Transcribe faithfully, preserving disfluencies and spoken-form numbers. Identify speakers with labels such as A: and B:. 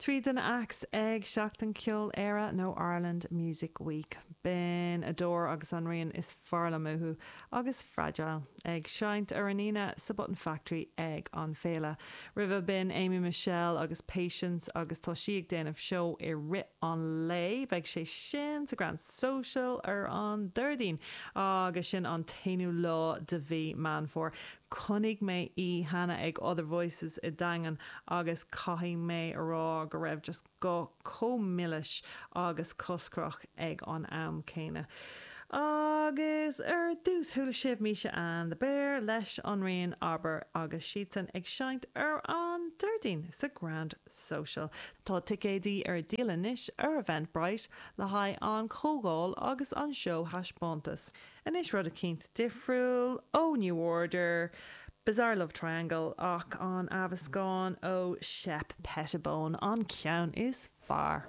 A: Trí de na acts ag Seachtain Ceoil Éire nó Ireland Music Week. B'in Adore agus an rian is fearr liom uathu agus Fragile ag seinnt ar an Aoine sa Button Factory ag an féile. Roimhe b'in Amy Michelle agus Patience agus tá sí ag déanamh seó i rith an lae, beidh sé sin sa Grand Social ar an Déardaoin agus sin an t-aonú lá de mhí Meán Fómhair. Chonaic mé í cheana ag Other Voices i Daingean agus caithfidh mé a rá go raibh just guth chomh milis agus coscrach ag an am céanna. Agus ar dtús chuala sibh Misha and the Bear leis an rian Abair agus siadsan ag seinnt ar an Déardaoin sa Grand Social. Tá ticéidí ar díol anois ar Eventbrite le haghaidh an chomhdháil agus an seó thaispeántas. Anois rud eicínt difriúil ó New Order, Bizarre Love Triangle ach an athmheascán ó Shep Pettibone an ceann is fearr.